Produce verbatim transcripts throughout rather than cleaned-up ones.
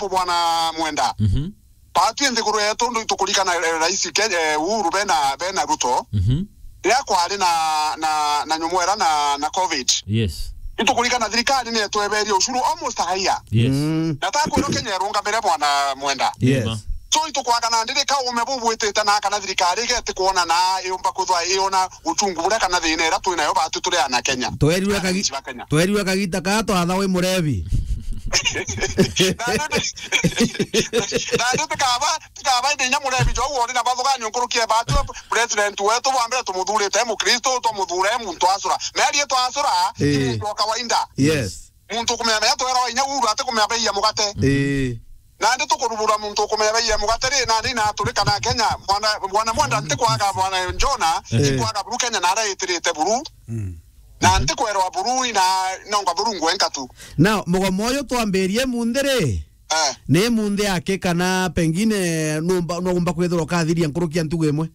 Bwana Mwenda. Mhm. Batwi nthiguru yetu ndu itukurikana, eh, Rais Ke-, eh, Uhuru bena, bena Ruto. Mhm. Riria kwari na, na, na nyumwera na, na covid. Yes. Itukurikana thirikari ni yatweberie ushuru almost a year. Yes. Mm. Na takwirwo Kenya irungamire, Bwana Mwenda. Yes. Nima. So itukwaga na ndiri kaume bubwitite na kana thirikari igeti kuona na iumba kuthwa iona uchungu buria kana thina iria twi nayo batu turi ana Kenya. Twerirwe kagi-, Ananchi ba Kenya. Twerirwe kagita kaa twatha wi murebi. Na ndi, na ndi tikaba, tikaba indi inya murebi jo woni na bathuganio nkuruki e batu president wetu bwa mbere tumuthurite e mukristo, tumuthura e muntu acura. Meri twacura, Eh. Iri ndio kawaida. Yes. Muntu ukumenya menya twera wa inya uru ati kumenya bei ya mugate. Eh. Nandi tukurubura muntu ukumenya bei ya mugate ri, nandi na turikana Kenya, mwana, mwana Mwenda ntikwaga, mwana Jona, Eh. Ntikwaga buru Kenya na ara itirite buru. Mm. Na ntikwerwa buru ina nonga buru ngwenka tu. Now, mugomo uyu twambirie munthi ri, Eh. Ni munthi aki kana pengine numba, nugumba kwithirwa ukathiria nkuruki ya ntugu imwe?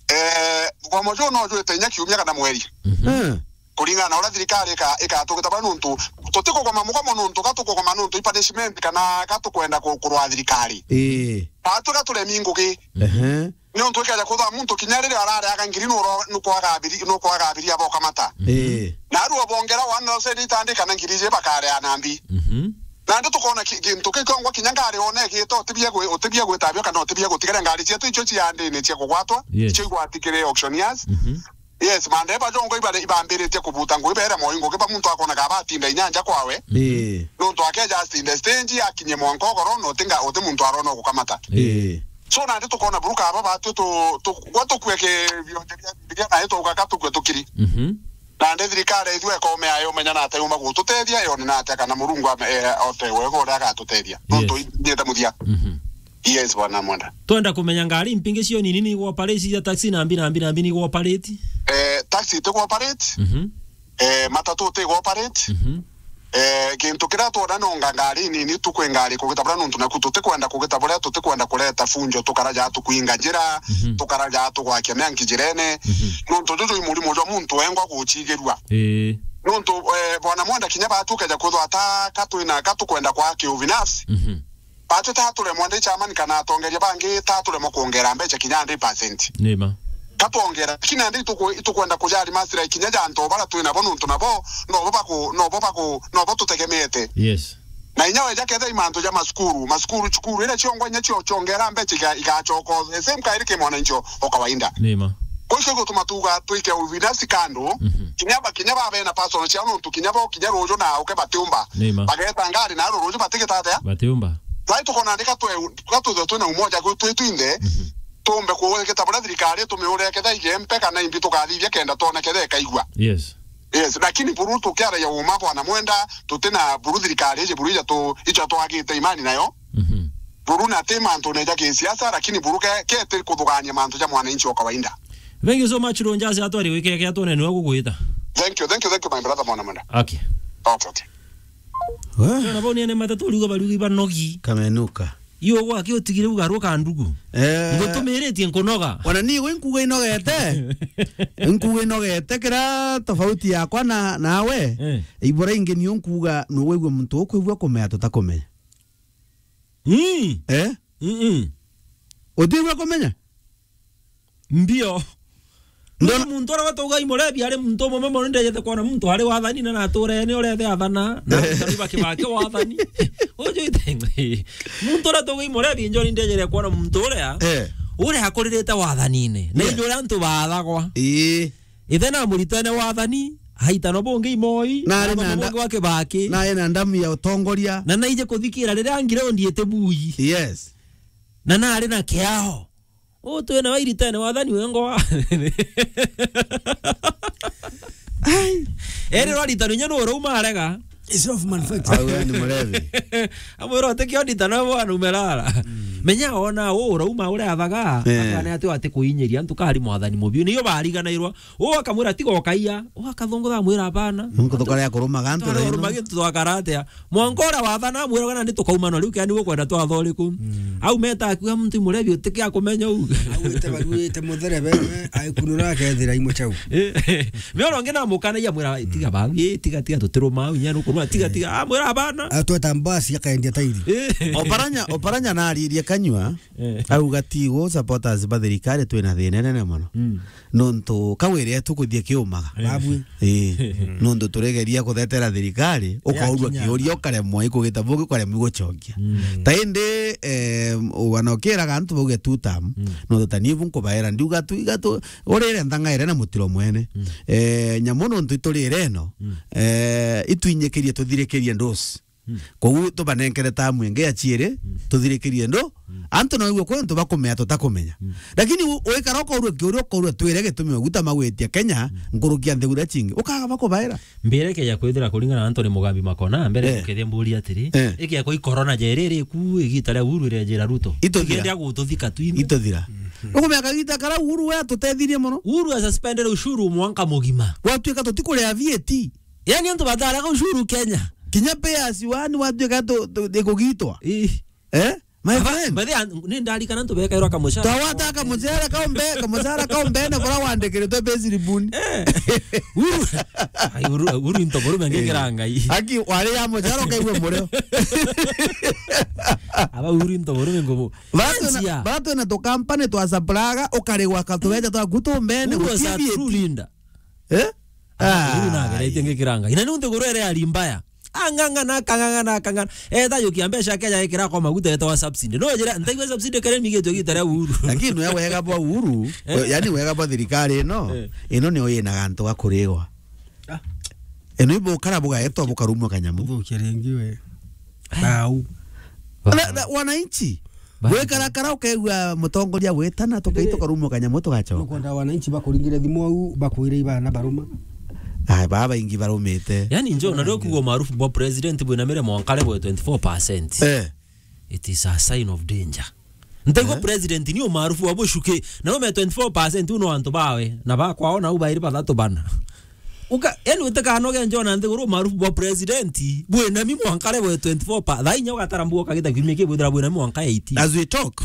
Eh, mugomo juu no jwite inya kiumia kana mweri. Mhm. Eh. Kuringana na uria thirikari ika-, ikatugita bara nuntu tutikugoma mugomo nuntu ka tukugoma nuntu i punishment kana ka tukwenda ku-, kurwa thirikari. Ii. Batu ka turemi ngugi. Ehe. Niuntu ikeja kuthwa muntu kinya riria arareaga ngiri nuro-, nukwaga abiri-, nukwaga abiria bokamata. Ii. Na aru obongera one thousand itandika na ngiri iji bakareana mbi. Mhm. Nandi tukona ki-, gintu kiu kiongwa kinya ngari one igite, utibie gwi-, utibie gwitabio kana utibie gutigara ngari cietu icio ciandine cia kugwatwa, Yes. Icio igwatikire auctioneers. Mhm. Yes, mandereba jongo ibare-, ibambiritie kubuta ngui bere moi ngugi ba muntu akona ka batinda inyanja kwawe. Ii. Nuntu akeja asinde stage, akinye mwanka ogoro, na utinga, uti muntu arona gukamata. Ii. So nandi tukona buruka aba batu tu-, tu-, gwa tukue ki bionje bia Bibilia na ituga ka tukue tukiri. Mhm. Nandi thirikari ithua ikome ayo menya na ate yuma gututethia, yone na ate kana Murungu ame-, eh, ote wega uria agatutethia. Yes. Nuntu ithiete muthia. Mhm. Yes, bwana Mwenda. Twenda kumenya ngari mpingi cio nini ni igwoperate cia taxi na mbi na mbi na mbi ni igwoperate? Eh, taxi itigwoperate. Mhm. Eh, matatu itigwoperate. Mhm. Eh, gintu kiria twona nonga ngari nini tukwi ngari kugita buria nuntu naku tutikwenda kugita buria tutikwenda kureta funjo tukaraja tukwinga njira, Mhm. Tukaraja tugwakia mianki njirene. Mhm. Nuntu juju i murimo jwa muntu wengwa gucigirua. Ii. Nuntu, eh, bwana Mwenda kinya batu ukeja kwithwa ata ka twina ka tukwenda kwa kiubinafsi. Mhm. Batu ta turemwa ndi chairman kana atongeria bangi ta turemwa kuongera mbecha kinya hundred percent. Nima. Ka twongera, lakini andi ituku-, itukwenda kujali masira kinya ja antu bara twina bo nuntu nabo, nobo baku-, nobo baku-, nobo tutegemete. Yes. Na inya weja ketha i mantu ja masukuru, masukuru, cukuru ira ciongwa inya cio ciongera mbecha iga-, igacoka the same kairi ki mwananchi o kawaida. Nima. Kwa hiyo gutuma tuga twike ubinafsi kando, Mhm. Kinya ba, kinya ba bena personal ciao nuntu kinya bo, kinya ruju na uke batiumba. Nima. Bageta ngari na ruju batigita atia? Batiumba. Sai tukona ndika twe, ka tuthe twina umoja gwi twi twinthe, Mhm. Tumbe kuweketa buria thirikari tumiure ketha igempe kana imbi tukathithia kenda twone ketha ikaigua. Yes. Yes, lakini buru tukiaragia uma bwana Mwenda, tutina buru thirikari iji buru ija tu, ijo twagite imani nayo. Mhm. Buru na ti mantu neja kisiasa, lakini buru ke, kete kuthugania mantu ja mwananchi wa kawaida. Thank you so much, Ronjas, atwari wikeke atwone niwe gugwita. Thank you, thank you, thank you, my brother, mwana Mwenda. Okay. Okay, okay. We? Ona bau niene matatu riuga bariuga ibanogi. Kamenuka. Iyo gwake utigire ugarwo ka ndugu. Eh. Ngutumiritie nkunoga. Ona ni gwe nkuga inogete. Nkuga inogete kira tofauti yakwa na, nawe. Eh. Ibura ingi niyo nkuga nugwigua muntu ukwigua kumenya tutakumenya. Mm. Eh? Mm-mm. Utigua kumenya? Mbio. Ndona muntu uria wetagwa Imurebi ari muntu umwe mono, ndejete kwona muntu ari wathani na nature ni urethe athana na Kariba Kibaki wathani. Uju ite-, muntu uria wetagwa Imurebi njoni ndejere kwona muntu uria, Eh. Uria akuririte wathanine. Na Yes. Inyo uria antu bathagwa. Ii. Ithe na muritene wathani, haitano bungi imoi, Na ari na na nda-, bungi wa Kibaki. Na ari na ndamu ya utongoria. Na naije kuthikira riria ngirondi ite bui. Yes. Na nari na kiao. Utwene wairitene wathani wengwa. Ai. Eri rwaritano inya nurauma arega. It's self manufactured. Au we ni murevi. Amwira utikio nditano bwana umerara. Mm. Menya ona uu urauma uria athaga, eh, akana ati ati kuinyiria antu kari mwathani mubiu. Niyo bariganairwa. Uu akamwira, "Tiga ukaia." Uu akathongoka amwira, "Abana." Nunku tukarea kurumaga antu thaa ino. Tukarumaga antu twakara atia? Mwanka uria wathana amwiraga, "Nandi tukaumana riu, kiani ukwenda twatha uriku?" Mm. Au meta akuga muntu imurebi utike akumenya uu. Agwite baruite mutherebe, aikunura akethira imuchau. Eh, miono ngi namukanagia mwira, "Tiga bau, eh, tiga, tiga, tutiruma au, inya nukuruma, tiga, tiga." Ah, mwira, "Abana." Atweta mbasi akaendia tairi. Eh. Oparanya, Oparanya naririe kanyua, eh, auga, "Tigo supporters ba thirikari twina thina nene mono." Mm. Nontu kawire tukuthie kiumaga. Eh. Babwi. Eh. Nontu turegeria kuthetera thirikari, ukaurua kiuria, ukaremwa ikugita bugi, ukaremwa gucokia. Mm. Ta indi, eh, wana ukiraga antu bauge two term, mm, nontu ta nibu nkubaera, ndiuga tu, iga tu, urire nthangaire na mutiro mwene. Mm. Eh, nyamu nontu iturire ino, mm, eh, itwinyikirie tuthirikirie ndusi. Mm. Koguo tubanenkere tamu ingi ya ciiri, mm, tuthirikirie ndu. Mm. Antu no igwe kwi antu bakumea tutakumenya. Mm. Lakini u-, uikara ukaurua kiuria, ukaurua twire gitumi maguta magwitia Kenya, mm, nkuruki ya nthiguru iria cingi. Ukaga bakubaira. Mbire keja kwithira kuringana na Anthony Mugambi Makona, mbere, eh, tukethia mburi atiri, eh, ikia kwa i corona jeri iri ku igita ria Uhuru irejira Ruto. Ituthira. Igende agututhika twini. Ituthira. Mm. Ukumea kagita kara Uhuru we atutethirie mono. Uhuru asuspendere ushuru mwanka mugima. Gwatuika tutikuria V A T. Yani antu bataraga ushuru Kenya. Kinya payers wani watuika tu, tu, ikugitwa. Ii. Eh? My friend. By the way, ni ndarikana antu bekairwa kamushara. Twawata kamushara kaumbe, kamushara kaumbe na kora wandikiritwe payslip buni. Eh. Uru. Ai, uru, uru into buru menge, eh, kira ngai. Aki wari ya mushara ukaigua mureo. Aba uru into buru mengo bo. Bara twina, bara twina tu company twa supply-ga, ukarigwa ka tubeca twaku tumbene. Uru was a true leader. Eh? Ah, uru nageretie ngikiranga. Ina nuntu guru ere ari mbaya. Ang'ang'ana, akang'ang'ana, akang'ang'ana. Eta yukia mbeca keja ikira kwa maguta etawa subsidy. No njira, ntaigua subsidy kere migitwe gita ria Uhuru. Lakini we wega bwa Uhuru, eh, yani wega bwa thirikari ino, eh, ino niyo yina gantu ga kurigwa. Ah. Ino ibukara bugaetwa bukarumwa kanyamu. Uthukia ringi we. Bau. Na, na, wananchi. Bau. Gwikarakara ukaigua mutongoria gwitana, tukai tukarumwa kanyamu tugacoka. Nukwenda wananchi bakuringire thimu au, bakwire ibana baruma. Ai, baba baingi barumite. Yani, njo, na ndio kugo maarufu bwa president bwina mire mwankare bwa twenty-four percent. Eh. It is a sign of danger. Ntaigua, eh, president ni umaarufu wa bucuki, na ume twenty-four percent uno antu bawe, na bakwao na ubairi bathatu bana. Uka, yani utikanoge njona nthiguru umaarufu bwa president, bwinami mwankare bwe twenty-four pa, thaa inya ugatara mbuo kagita kiumia kii bwithira bwinami mwanka eighteen. As we talk,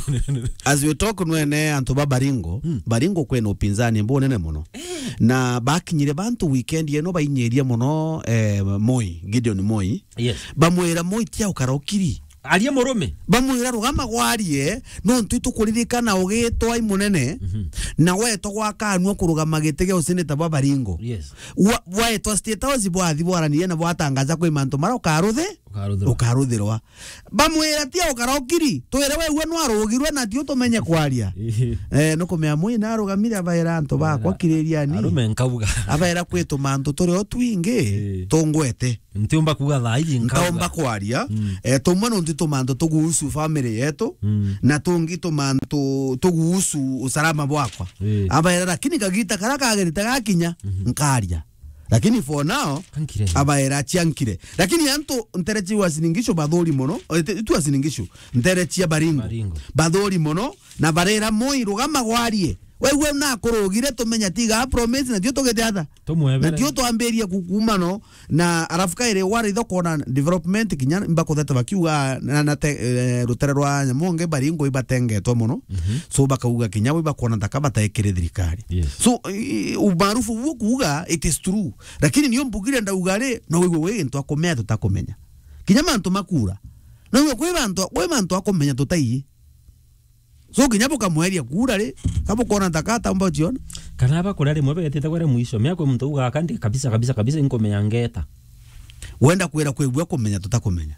as we talk nwene antu ba Baringo, mm, Baringo kwina upinzani bunene muno. Eh. Na bakinyire bantu weekend ino bainyirie muno, eh, Moi, Gideon Moi. Yes. Bamwira Moi tia ukarokiri. Arie murume. Bamwira, "Rugama gwarie, nontu itukuririkana ugitwa i munene, mhm, na wetwa gwakanua kurugama giti gia useneta bwa Baringo." Yes. Wa-, waetwa State House bwathi bwaranirie na bwatangaza kwi mantu mara ukaruthe-, ukaruthirwa. Ukaruthirwa. Bamwira, "Tia ukarokiri, twire wegua nwarugirwe na tiu tumenye kwaria." Eh, nukumea Moi narugamire abaira antu bakwa, abaira, kiririani. Arume nkauga. Abaira, "Kwi tumantu turi o twingi, eh, tungwete." Ntiumba kuuga thaa iji nkauga. Ntaumba kwaria. Mm. Eh, tumwe nontu tumantu tuguhusu family yetu, mm, na tungi tumantu tuguhusu usalama bwakwa. Eh. Abaira, lakini kagita kara kagerite gakinya, mhm, nkaria. Lakini for now, ankire. Abaira chiankire. Lakini antu ntere cia Uasin Gishu bathuri mono, eh, ti, ti Uasin Gishu, ntere cia Baringo. Baringo. Bathuri mono, na barera Moi, "Rugama gwarie. Wegua nakurugire tumenya tiga promise, na tio tugite atha." Tumwebere. Na tio twambirie ku-, kuuma no, na arafu kairi wari tho kona development kinya mbakuthete bakiuga na, na te, eh, rutere rwa nyamonge Baringo ibatengetwe mono. Mhm. So bakauga kinya we bakona ntaka bataikire thirikari. Yes. So, i-, i-, umaarufu uo kuuga it is true. Lakini nio mbugire ndauga ri, no wigwe wi gintu akumea tutakumenya. Kinya mantu makura. No wigwe kwi bantu, kwi mantu akumenya tutaiyi. So, kinya bukamweria kura ri, ka bukona ntaka ataumba uciona? Kana bakuria rimwe betite kwere mwisho, mea kwi muntu uga, "Aka ndi kabisa, kabisa, kabisa, inkumenya ngeta." Wenda kwira kwigua kumenya tutakumenya.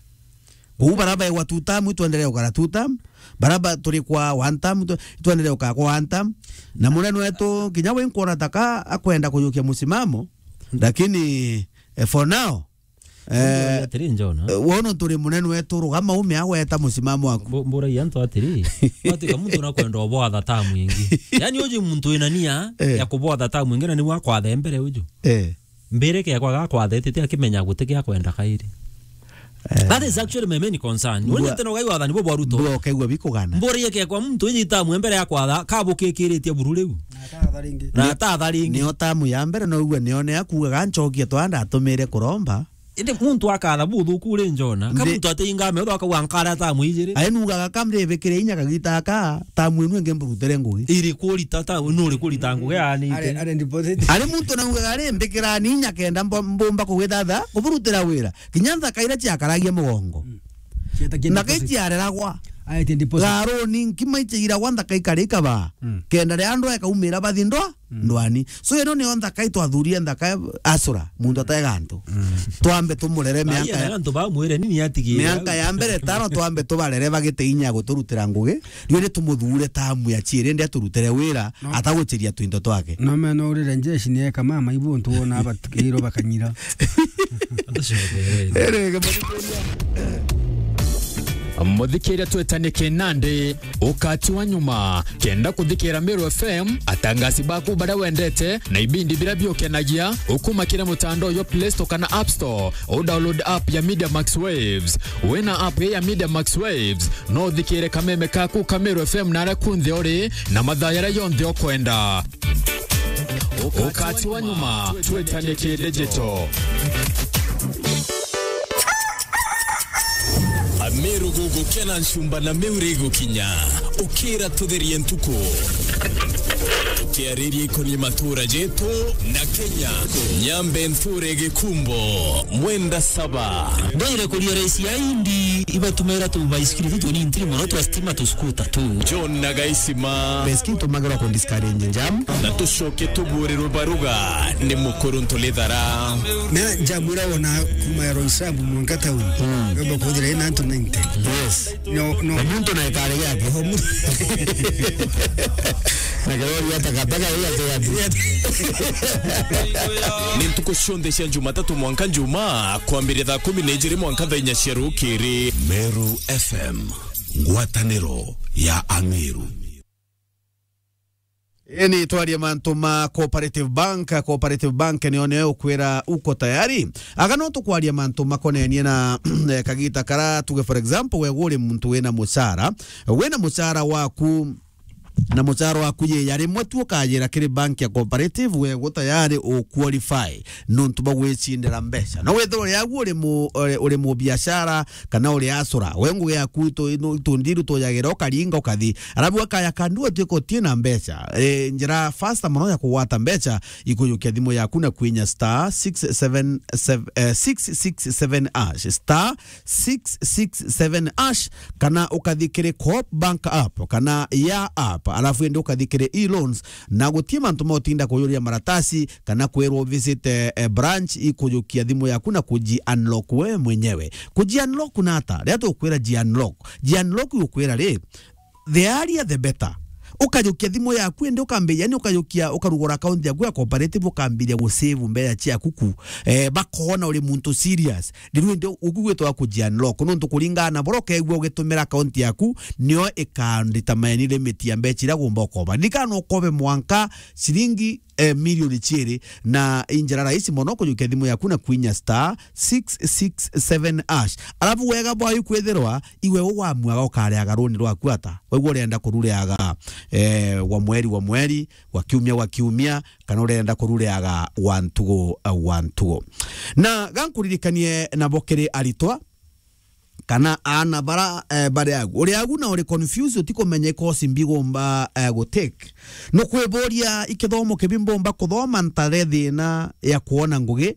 Kuu bara baigwa two term, itwendelee ukara two term. Bara ba turi kwa one term, itwe-, itwendelee ukara kwa one term. Na munene wetu, kinya we nkuona taka akwenda kuyukia musimamo, lakini, eh, for now, eh, atiri njona. Eh, wono turi munene wetu, rugama ume agweta musimamo waku. Mbu-, mburagia antu atiri, watuika muntu nakwenda ubwatha tamu ingi. Yani uji muntu wina nia, eh, ya kubwatha tamu ingi, na niwe akwathe mbere uju. Eh. Mbirike yakwa gakwathetete akimenya guti gia kwenda kairi. That is actually my main concern. Mbua- Wenye tena ugai wathani bo bwa Ruto. Mbua ukaigua bikugana. Mburi yake kwa mtu iji tamu mbere ya kwatha, kabukikiritie buru riu. Na atatha ringi. Na atatha ringi. Nio tamu ya mbere, no ugua nio ne akugaga nchokie twanda atumire kuromba. Indi muntu akatha buthuku uri njona. Ka Ndi- muntu ate ingame, utho akauga nkara tamu ijiri. Aenugaga kamribikire inya kagita aka, tamu inu ingi mburutire ngugi. Iri kurita ta, nuri kurita ngugi anite. Are, are deposit. Ari muntu naugaga ari mbikirani inya kenda mbo-, mbumba kugithatha, kuburutira wira. Kinya nthaka iria ciakaragia mugongo. Mm. Cietagia na deposit. Kai ciareragwa. Aetie deposit. Garuni nkima ichiiragwa nthaka ikari ikabaa. Mm. Kenda ria andwa ekaumira bathi ndwa, mm, ndwani. So ino nio nthaka itwathurie nthaka asura, muntu atega antu. Mm. Twambe tumurere mianka ya, antu bamwire nini atigire. Mianka ya mbere tano twambe tubarere bagite inya ya guturutira ngugi. Riu ni tumuthure tamu ya chiiri ndi aturutire wira. No. Ataguchiria tuindo twake. No meno urire njeshi ni eka mama ibu ntu wona abatikirwo bakanyira. Ere, Muthikiria twetanie kinandi, ukati wa nyuma. Kenda kuthikira Meru F M, atangasi baku baria wendete, na ibindi biria biukenagia, ukumakire mutandao yo Play Store kana App Store, u download app ya Media Max Waves. Wina app ya Media Max Waves, no uthikire kameme kaku ka Meru F M naria kunthe uri, na mathaa yaria yonthe ukwenda. Ukati wa nyuma, twetanie ki digital. Ameru gugukena nchumba na Meru igukinya. Ukira tutherie ntuku. Tukiariria ikonie matura jetu na Kenya. Nyambe nture gikumbo, mwenda saba. Ndoire kuria raisi ya indi, ibatumira tu baisikiri tu tuni ntiri mono twa stima tu skuta tu. John na Gaisima. Beskini tumagirwa ku discourage njam. Na tucoke tuburirwe baruga ni mukuru Ntulithara. Na njamwira wona kuma ya Roysambu mwanka town. Mm. Wemba kuthira ina antu ninety. Yes. No, no. Na muntu na ikari yake. Oho, mu- Na kirori ya takataka hiyo ati ati. Ni ntuku cionthe cia Jumatatu mwanka Njumaa, kwambiria thaa kumi na ijiri mwanka thaa inya cia rukiri. Meru F M, ngwataniro ya Ameru. Ii ni twarie mantu ma Cooperative Bank. Cooperative Bank nio nio ukwira uko tayari. Aga no tukwaria mantu makonenie na, eh, kagita kara tuge, for example, we uri muntu wina mucara, wina mucara waku, na mucara waku yia rimwe tu ukajira kiri bank ya Cooperative, we gu tayari u qualify nontu bwa gwicindira mbeca. No withirwe uri agu uri mu-, uri, uri mubiashara, kana uri asura, we ngugi yaku itu-, ino, itundiru tujagira ukaringa ukathi. Arabu akaya kandu atuika utie na mbeca. E, njira faster mono ya kugwata mbeca, ikujukia thimu yaku na kwinya star six seven seven, eh, six six seven hash, star six six seven hash, kana ukathi kiri Coop Bank app, kana ya app, arafu indi ukathi kiri e-loans, na gutie mantu ma utinda kuyuria maratasi, kana kwirwo visit, eh, eh, branch ikujukia thimu yaku na kuji unlock we mwenyewe. Kuji unlock na ata? Ria tukwira ji unlock. Ji unlock ukwira ri, the earlier the better. Ukajukia thimu yaku indi ukambiria, yani ukajukia, ukarugura account yaku ya Cooperative, ukambiria gu save mbeca ciaku ku. Eh, bakona uri muntu serious. Riu indi uku gwitwa kuji unlock. Nontu kuringana na buria ukegua ugitumira account yaku, nio ika determine limit ya mbeca iria ugomba ukoba. Ririkana no ukobe mwanka ciringi, eh, milioni ciiri, na i njira rahisi mono kujukia thimu yaku na kwinya star six six seven hash. Arabu wega bwayo kwithirwa iwe ugwamua ukariaga runi rwaku ata. Waigua urenda kurureaga, eh, wa mweri wa mweri, wa kiumia wa kiumia, kana urenda kurureaga wa ntugu, eh, wa ntugu. Na gankuririkanie nabo kiri aritwa, kana aana bara, eh, bari agu. Uri agu na uri confused, utikumenya i course mbi ngomba, eh, gu take. Nukwiburia i kithomo kibi mbomba kuthoma ntare thina ya kwona ngugi.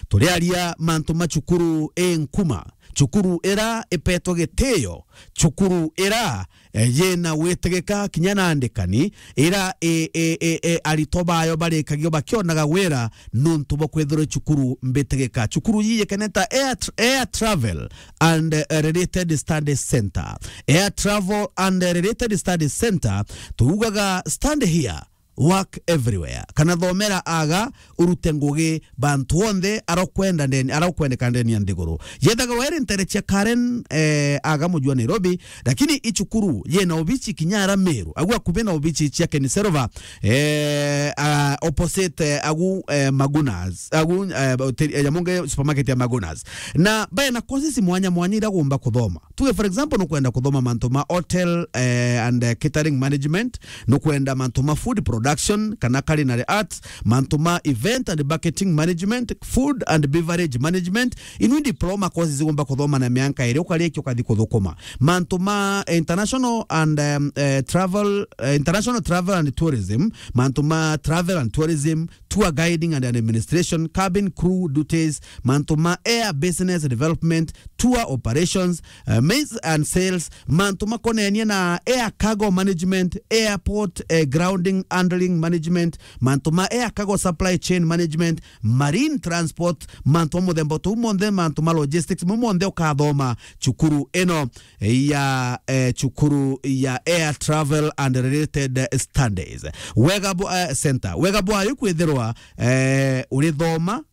Turiaria mantu ma cukuru i nkuma, cukuru ira ipetwe gitio, cukuru ira, eh, yina witigika kinya na andikani, ira i, i, i, i, aritwa bayo barikagio bakionaga wira nontu bwa kwithirwa cukuru mbitigika. Cukuru yiyekeneta Air Tr-, Air Travel and, eh, Related Studies Center. Air Travel and Related Studies Center, tuugaga stand here, work everywhere. Kana thomera aga, urute ngugi bantu onthe arokwenda ndeni, arokwendeka ndeni ya nthiguru. Yethaga weri ntere cia Karen, eh, aga muji wa Nairobi, lakini i cukuru yena obici kinya ara Meru. Agu akubi na obici cia Kenny Silver, eh, ah, opposite, eh, agu, eh, Magunas. Agu, eh, hoteli, eh, ya Monge supermarket ya Magunas. Na bae na courses mwanya mwanya ira gumba kuthoma. Tuge, for example, nukwenda kuthoma mantu ma hotel, eh, and, eh, catering management, nukwenda mantu ma food production kana culinary arts, mantu ma event and marketing management, food and beverage management, inu diploma courses ugomba kuthoma na mianka iri ukarikia ukathi kuthukuma. Mantu ma international and, um, eh, travel, eh, international travel and tourism, mantu ma travel and tourism, tour guiding and administration, cabin crew duties, mantu ma air business development, tour operations, eh, maize and sales, mantu makonenie na air cargo management, airport, eh, grounding handling management, mantu ma air cargo supply chain management, marine transport, mantu ma muthemba tuu monthe, mantu ma logistics, mau monthe ukathoma cukuru ino ya, eh, cukuru ya Air Travel and Related Studies. Wega bwa, eh, center. Wega bwayo kwithirwa, eh, urithoma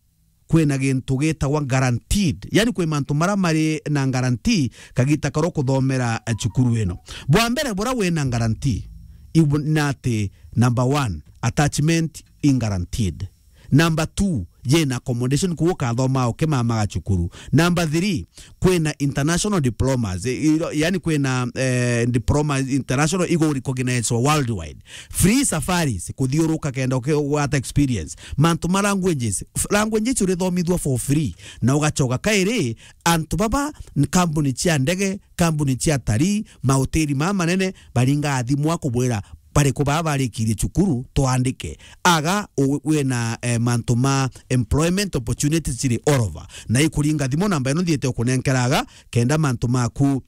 kwina gintu gitagwa guaranteed. Yani kwi mantu mara mari na guarantee kagita karo kuthomera, eh, cukuru ino. Bwa mbere bura wina guarantee, ibu-, na ati number one, attachment in guaranteed. Number two, yena accommodation kuo ukathoma ukimamaga cukuru. Number three, kwina international diplomas, i-, i-, yani kwina, eh, diploma international igo recognized worldwide. Free safaris, kuthiuruka kenda uke-, ugwata experience. Mantu ma languages, f-, languages urithomithua for free. Na ugacoka kairi, antu baba, n-, kambuni cia ndege, kambuni cia atarii, mahoteli maa manene, baringa athimwa kubwira, bariku baa barikirie cukuru, twandike. Aga, u-, wina, eh, mantu ma employment opportunities ciri all over. Na ikuringa thimu namba ino nthiite ukunenkera aga, kenda mantu maku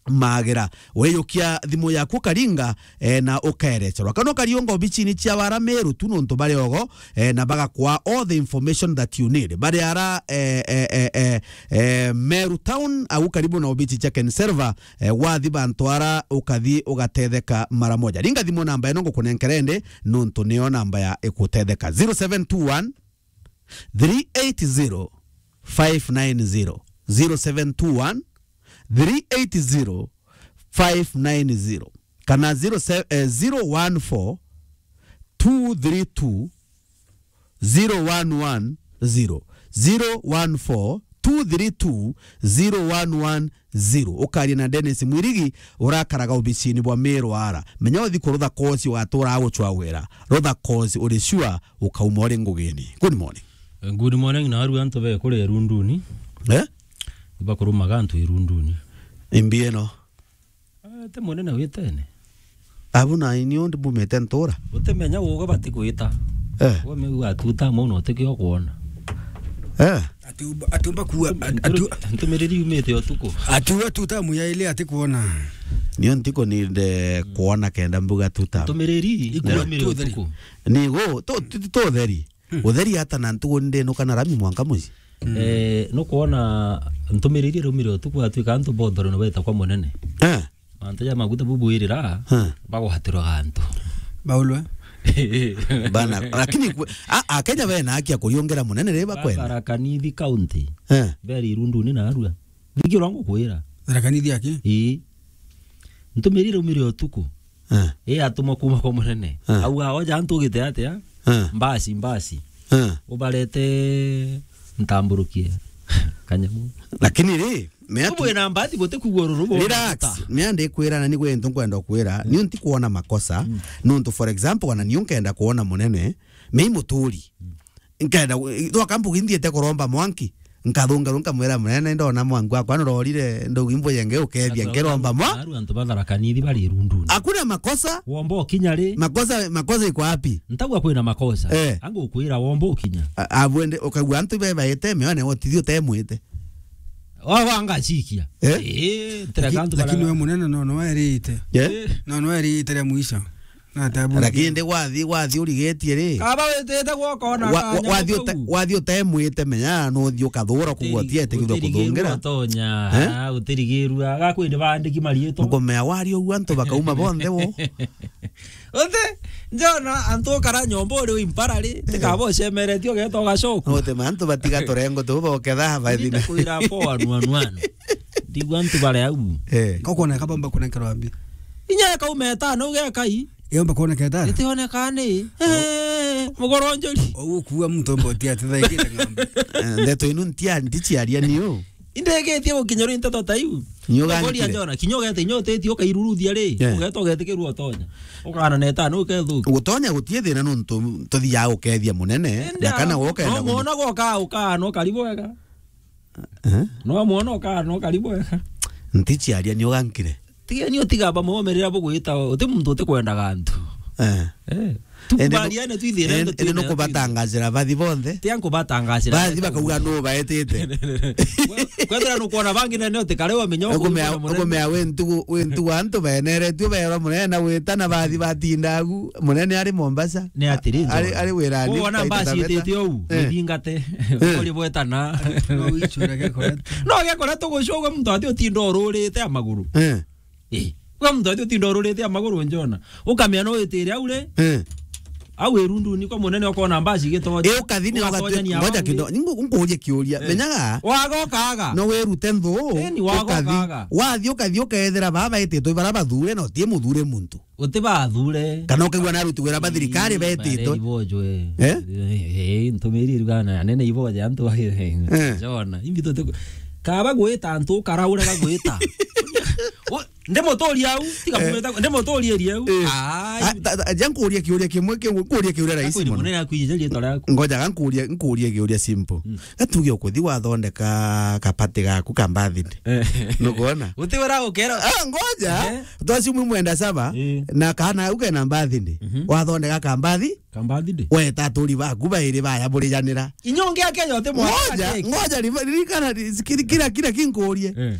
magira. Weyukia thimu yaku ukaringa, eh, na ukaerecerwa. Kana ukariunga obicini cia wara Meru tu nontu bari ogo, eh, na bagakwa all the information that you need. Bari ara, eh, eh, eh, eh, eh, Meru Town, au karibu na obici cia Ken Server, eh, wathi bantu ara ukathi ugatetheka mara moja. Ringa thimu namba ino ngukunenkera indi nontu niyo namba ya ikutetheka. Zero seven two one, three eight zero, five nine zero. Zero seven two one, three eight zero, five nine zero. Kana zero se-, eh, zero one four, two three two, zero one one zero. Zero one four, two three two, zero one one zero. Ukaria na Dennis Mwirigi, urakaraga obicini bwa Meru ara. Menya uthi kurutha kosi, ugatura agucwagwira. Rutha kosi, uri sure ukauma uri ngugini. Good morning. Good morning, na aru antu be kuri Irunduni. Eh? Ibakurumaga antu Irunduni. Imbi ino. Eh, ti munene witene. Abu na inio ndi mbumite ntura. Utimenya uga bati gwita. Eh. Wameu atuta mau na utikio kwona. Eh. Atiumba, atiumba kuwa, at-, atu- Ntumiriri yumite utuku. Atiuga tuta muyaile ati kuona. Nio ntiko ninde kuona kenda mbuga tuta. Ntumiriri yumire utuku. Nigo, to, to, to theri. Mm. Utheri ata na ntugu ndinuka na rami mwanka muci. Mm. Eh, nukwona ntumiriri rumire utuku atuika antu bothore no beta kwa munene. Eh. Mantu ja maguta bubwirira, eh, bagwatirwa antu. Baulwe. Bana, lakini kwe-, a, a Kenya bena haki ya kuriongera munene ri bakwenda. Tharaka Nithi County. Eh. Beri Irunduni na arua. Thikirwa ngukwira. Tharaka Nithi aki? Ii. Ntumiriri rumire utuku. Eh. Ii atumwa kuma kwa munene. Eh. Auga, oja antu ugite atia? Eh. Mbasi, mbasi. Eh. Ubarete ntamburukie. Kanyamu. Lakini ri, me atu- Ubwe na mbati guti kugwa ruru bo. Relax. Me andi kwira na ni gwe ntu nkwenda kwira. Mm. Niu nti kuona makosa. Mm. Nuntu, for example, wana niu nkenda kuona munene. Me i muturi. Mm. Nkenda, twakambugi nthiete kuromba mwanki. Nkathunga ru nkamwira, "Munene, ndona mwanki wakwa nurorire, ndugi mbuyenge ukethia, nkiromba mwa." Aru antu ba Tharaka Nithi bari Irunduni. Hakuna makosa. Womba ukinya ri? Makosa, makosa iko wapi? Ntagwa kwina makosa. Eh. Angu kwira womba ukinya. A-, abwende, ukagua antu be baite meone, wotithi utemwite. Wa, wa ngacikia. Eh? Eh, ntira Laki-, kantu lakini bara we munene no, no erite. Eh? Eh. No, no erite ria mwisho. Na tabu. Lakini ndi wathi, wathi urigetie ri? Kaba witite gwokona wa-, wa-, kanya wathi uta-, kau. Wathi utemwite, menya no uthi ukathura kugwa ti ete kithwa kuthungira. Utirigirwa utonya, eh? Ah, utirigirwa. Agakwende baandiki marietwa. Ukumea wari uguo antu bakauma bonthe wo. Uti, njona antu ukara nyomba uri uimpara ri, eh, tikaba ucemeretie ugeta ugacoka. Uti ma antu batiga turengo tu boketha bathina. Kwira po anu, anu, anu. Ndigwa antu bare au. Eh. Kokona kabamba kunenkerwa mbi. Inya kaume etano ugekai. Yomba kuoneka etano? Itioneka ni. Eh, mugoro njuri. Oguo kuua muntu omba uti ati thaikite ng'ombe. Eh, ndeto inu ntia, ndiciaria niu. Indegetie gukinya ri nteto ta iu. Nyoga. Ukoria nkire. Njona, kinya ugete, inya uteti ukairuruthia ri, yeah, ugeta ugetikirua utonya. Ukana na etano ukethukia. Gutonya gutie thina nontu tuthiaga gukethia munene, indi na kana a-, gukenda no muno. Muona gwoka, ukana ukari bwega. Eh? No muona ukana ukari bwega. Nticiaria nyoga nkire. Tigeni utiga bamwe bomerera bugwita, uti muntu utikwendaga antu. Eh. Eh. Indi nu-, tukubaliane twithire indi, indi nukubatangacira bathi bonthe. Tia nkubatangacira. Bathi bakauga nu baetite. Kwethira nukwona bangi nene utikare wamenya ukumea, ukumea wi ntugu, wi ntugu antu beneretue berwa munene na gwita na bathi batinda agu. Munene ari Mombasa. Ni atiri, ari, ari wirani. Wona mbasi itite uu, eh, mithingate. Eh. Uri bwetana. No wichura gekore. No gekore tugucugwe muntu ati utinda ururite amaguru. Eh. Eh, we muntu ati utinda ururite amaguru njona. Ukamea no witire au ri. Eh. Au irunduni kwa munene ukona mbaci igitonya. Eh, ukathi ni ugatonya ni ngoja au kindo. Ningu nkuurie kiuria. Eh. Menyaga. Wagokaga. No wirute nthu. Eh, ni wagokaga. Ukathi. Wathi ukathi ukethira baba etitwe bara bathure na utie muthure muntu. Uti bathure. Kana ukaigua na aruti wira ba thirikari betitwe. Ibojwe. Eh? Eh, eh, ntumiri rugana nene iboje antu. Eh. Njona. Imbi tuti kaba gwita antu ukaraure gagwita. Ndimuturia au, tiga kumwita, ndimuturia eri au. Eh. Ai. Ah, ta, ta, ja nkuuria kiuria kimwe kiu, nkuuria kiuria rahisi muno. Munene akwije riitwa riaku. Ngoja ga nkuuria, nkuurie kiuria simple. Mm. Gatuge ukuthi wathondeka kapati gaku ka birthday. Eh. Nukwona? Utiwira ukera. Ah, ngoja. Eh. Twasi mwi mwenda saba, eh, na kana au kena birthday. Mhm. Wathondeka ka birthday. Ka birthday. Weta aturi baku bairi baya burijanira. Inya ungi akeja uti mwana. Ngoja, ngoja, ririkana, kira, kira, kira kinkurie. Eh.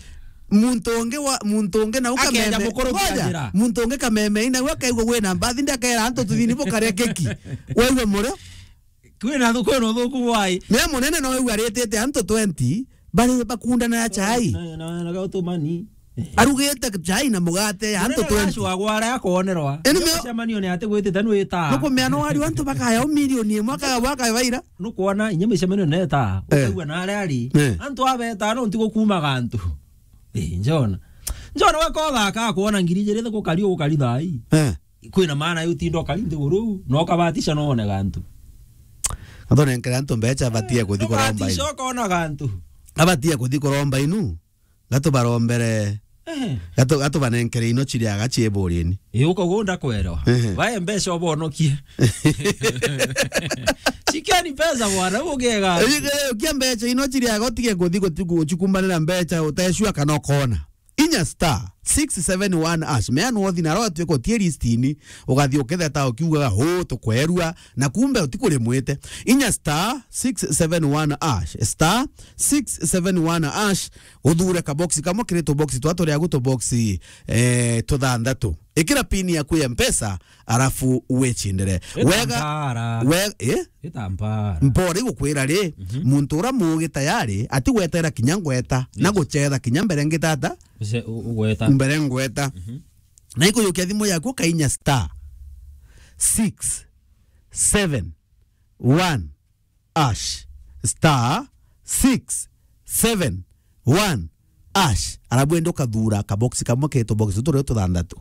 Muntu ungi wa, muntu ungi na ukameme. Akeja mukuru ngoja, kira njira. Muntu ungi kameme ina we akaigua wina mbathi ndakera antu tuthini bukaria keki. Waigua murio? Kwina thu-, kwina uthuku bwai. Mea munene no wigua aritite antu twenty bari bakundana ya chai. Na, na, na gautumani. Arugite chai na mugate ya antu twenty. Munene agacwagwa aria akonerwa. Eni mea- micemanio ni ati gwitite nwita. Nukumea no wari antu bakaya o milioni imwe akaga bwaka baira. Nukwona inya micemanio neta. Eh. Ukaigua na aria ari. Eh. Antu abeta no ntigo kumaga antu. Eh, njona. Njona we ko thaka akwona ngiri ijiri thiko kari ugukari thai. Eh. Kwina maana yo utinda ukari nthiguru, no ukabatisha no one gantu. Athonenkere antu mbecha abatie kuthi kuromba inu. Ukabatisha ukona gantu. Abatie kuthi kuromba inu. Gatubarombere. Eh. Gatu-, gatubanenkere ino chiriaga chieburini. Ii, uko gunda kwerwa. Ehe. Bae mbecha ubonokie. Chikeni pesa bwana, ugega. Ii, kia mbecha ino chiriaga utige kuthi guti-, guchikumbanira mbecha utecua kana ukona. Inya star six seven one hash. Mea no uthi na rwa tuiko tie listini, ugathi uketheta ukiugaga, "Huu, tukwerua," na kumbe utikurimwite. Inya star six seven one hash, star six seven one hash, uthure ka box kamwe kiri tu box twa turia gu tu box, eh, tuthanthatu. Ikira pin yaku ya Mpesa, arafu wechindire. Ita wega, mpara. We-, eh? Ita mpara. Mpora igukwira ri, mhm, muntu ura muugi tayari, ati gwetera kinya ngweta, na yes, guchetha kinya mbere ngitata? Uce-, u-, ugweta. Mbere ngweta. Mhm. Na ikujukia thimu yaku ukainya star six seven one hash, star six seven one hash. Arabu ende ukathura kabox kamwe ketu box tutu rio tuthanthatu.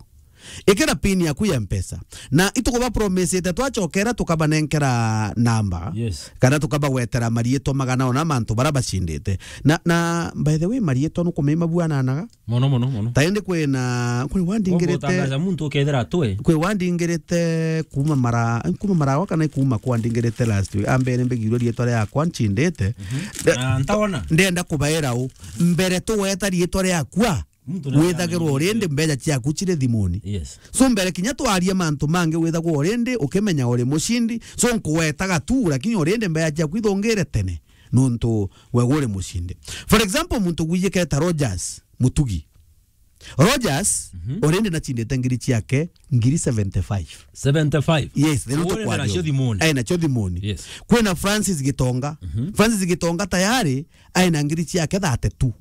Ikira pin yaku ya Mpesa. Na itukuba promisete twachokera tukabanenkera namba. Yes. Kana tukabagwetera marietwa magana ona mantu bara bacindite. Na, na by the way, marietwa nukumenya buananaga? Mono, mono, mono. Ta indi kwina, kwi wandingirite. Utangaza muntu ukethira atwe. Kwi wandingirite kuma mara, kuma marawa kana kuma kwa ndingirite last week. Ambere mbigirwe rietwa riakwa ncindite. Mhm. Nde-, na ntaona. Ndenda kubaira u. Mbere tugweta rietwa riakwa. Muntu na withagirwa already mbeca ciaku ciri thimuni. Yes. So mbere kinya twarie mantu mangi withagwa already ukimenya uri mucindi. So nkuwetaga tu, lakini already mbeca ciaku ithongire tene. Nontu we uri mucindi. For example, muntu gwijiketa Rogers Mutugi. Rogers, Mhm. already nachindite ngiri ciake ngiri seventy-five. Seventy-five? Yes, they don't Uone na cio thimuni. Eh, na cio thimuni. Yes. Kwina Francis Gitonga. Mhm. Francis Gitonga tayari aina ngiri ciake thirty-two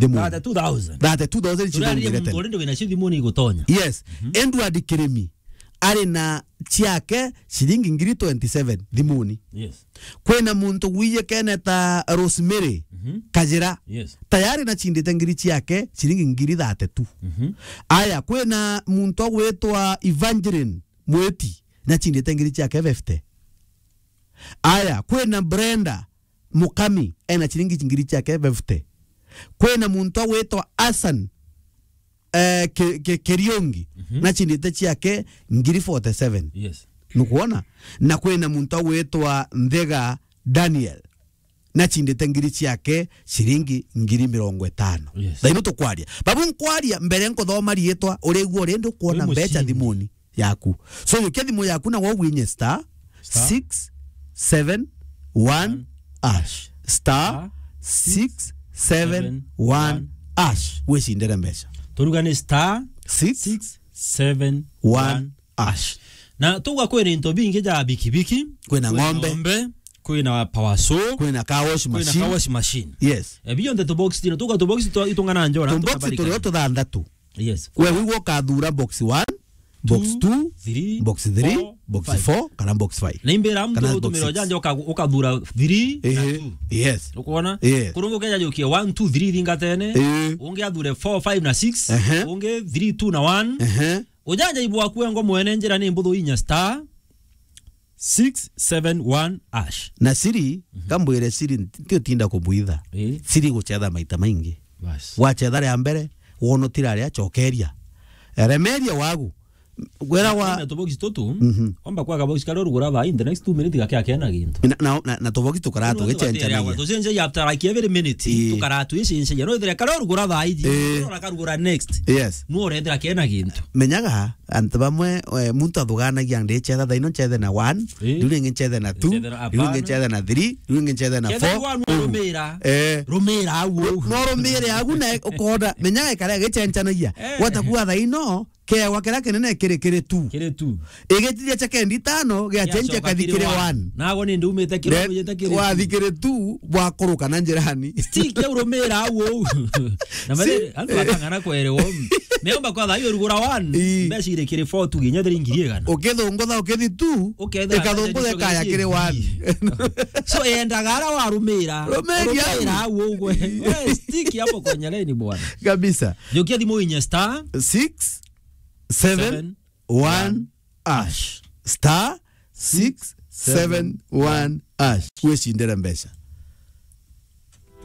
thimuni. Thirty-two thousand. Thirty-two thousand Turaria muntu already wina cio thimuni igutonya. Yes. Mhm. Edward Kirimi ari na ciake ciringi ngiri twenty-seven thimuni. Yes. Kwina muntu gwiyekene ta Rosemary Mhm. Kajira. Yes. Tayari nachindite ngiri ciake ciringi ngiri thirty-two. Mhm. Aya, kwina muntu agwitwa Evangeline Mwiti, nachindite ngiri ciake fifty. Aya, kwina Brenda Mukami, ena ciringi ngiri ciake fifty. Kwina muntu agwitwa Hassan, eh, Ki-, Ki-, Kiriungi, Mhm. nachindite ciake ngiri forty-seven. Yes. Nukwona? Na kwina muntu agwitwa Nthega Daniel, nachindite ngiri ciake ciringi ngiri mirongo itano. Yes. Thaino tukwaria. Babu nkwaria mbere nkuthoma riitwa, urigua rindi ukwona Wi mbeca mucini. thimuni yaku. So, yukia thimu yaku na wawinye star Star. six seven one hash. Star Star six seven one hash. Wicindire mbeca. Turuga ni star six seven one hash. Na tuga kwina into bingi ja bikibiki. Kwina Kwina ng'ombe. ng'ombe, kwina power saw, Kwina car wash kwina machine. car wash machine. Yes. E, bionthe tubox tino, tuga tubox tu-, itungana njora, Tubox tukabarika. turio tuthanthatu. Yes. We wigua ukathura box one, box Two, two, three, box three, four, box five. four, kana box five. Na imbira mtu Kana box utumira six. ujanja uka-, ukathura three na Ehe, two. yes. Ukwona? Yes. Kurungu keja jukie one, two, three thingatene. Ehe. Ungi athure four, five na six. Ehe. Ungi three, two na one. Ehe. Ujanja ibwaku engo mwene njira ni mbuthu inya star six seven one hash. Na siri, Mhm. kambwire siri, nti utinda kubwitha. Eh. Siri gucetha maita maingi. Bas. Wacetha ria mbere, wonotira ria cokeria. Remeria wagu. Gwera wa Na tubox tutu, Mhm. omba kwa kabox karia urugura thaa in the next two minutes gake akena gintu. Na, na, na, na tubox tukara Tuno tugateria tugichenchanagia. gwa, tucenjagia after like every minute, Ii. tukara tuichenchagia. No ithire karia urugura thaa iji, Ii. no na karugura next. Yes. No urethira kena gintu. Menyaga, antu bamwe, eh, muntu athuganagia ndichetha thaino nchethe na one, Ii. riu ringi nchethe na two, Nchethe na, riu ringi hapana. nchethe na three, riu ringi nchethe na Ketha four. igua Ugu. nurumira. Eh. Rumira au. No rumire agu na ukona, menyaga ikara gichenchanagia. Eh. Gwata kuga thaino, kewa kiria kinene kiri, kiri two. Kiri two. Igitithia cha kendi tano, gia Gia chencha coka kathi kiri kiri one. one. Nago ni ndumite kiri, Then ujite kiri wathi two. kiri two, bwakuruka na njirani. Stick ya urumira au. Na Si- mare, antu atangana kwerewa. Meomba kwa thayo rugura one. Ii. Mbeca iri kiri four tu, ginya thiri ngiri igana. Ukithungutha ukithi two, Ukethira ikathungutha mbeca ikaya icio kiri one. So, endaga ara warumira. Rumira Rumira au. au ugwe. We, stick hapo kwenye leni bwana. Kabisa. Jokia thimu inye star Six seven one hash. Star six seven one hash. Wicindire mbeca.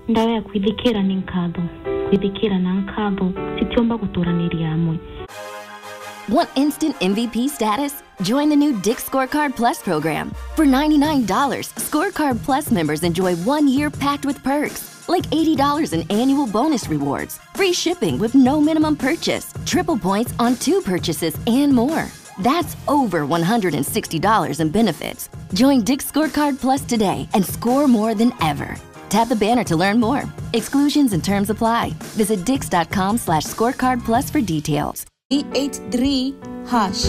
Ndawa ya kwithikira ni nkatho. Kwithikira na nkatho citiumba guturaniria amwe. Want instant M V P status? Join the new Dick Scorecard Plus program. For ninety-nine dollars, Scorecard Plus members enjoy one year packed with perks, like eighty dollars in annual bonus rewards, free shipping with no minimum purchase, triple points on two purchases, and more. That's over one hundred sixty dollars in benefits. Join Dick Scorecard Plus today and score more than ever. Tap the banner to learn more. Exclusions and terms apply. Visit dix dot com slash scorecard plus for details. Three eight three hash.